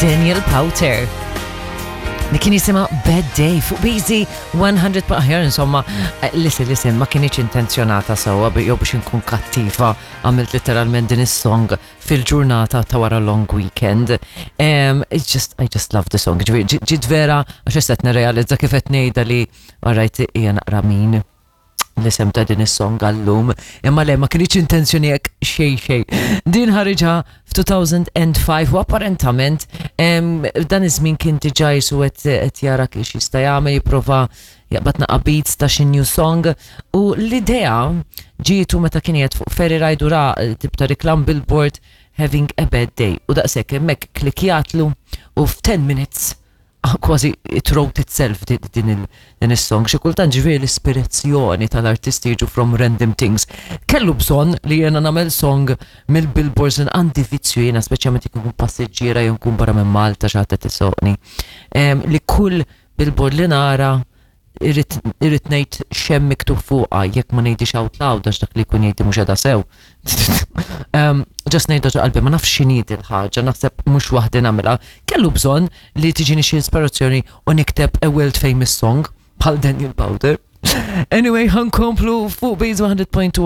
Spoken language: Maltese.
Daniel Powter li kien jisimha Bad Day fuq Busy 100 pa aħjar insomma eh, listen listen ma kienx intenzjonata sewwa jew biex inkun kattiva għamilt literalment din is-song fil-ġurnata ta' wara long weekend. Um, it's just, I just love the song. Ġiet vera għax issa qed nirrealizza kif qed ngħidha li alright hija naqra min l-isem ta' din is-song għallum, imma le ma kienx intenzjoni hekk xejn xejn. Din ħariġha f'2005 u apparentament dan iż-żmien kien diġà jisu qed jara kif jista' jagħmel jipprova jaqbad naqa' beats ta' xi new song u l-idea ġietu meta kien qiegħed fuq ferry ride u ra tip ta' reklam billboard having a bad day u daqshekk hemmhekk klikjatlu u f'10 minutes kważi it wrote itself din is-song. Xi kultant ġifieri l-ispirazzjoni tal-artisti jiġu from random things. Kellu bżonn li jiena nagħmel song mill-billboards għandi vizzju jiena speċjalment jekk ikun passiġġiera jew nkun barra minn Malta xi ħadd qed isoqni. Li kull billboard li nara irrid ngħid x'hemm miktub fuqha jekk ma ngħidix out loud għax dak li jkun jgħid mhux qiegħda sew. Just ngħidha ġo qalbi ma nafx x'inhi il-ħaġa, naħseb mhux waħdi nagħmilha. Kellu bżonn li tiġini xi ispirazzjoni u nikteb a world famous song bħal Daniel Powder. Anyway, ħankomplu fuq Base 100.2.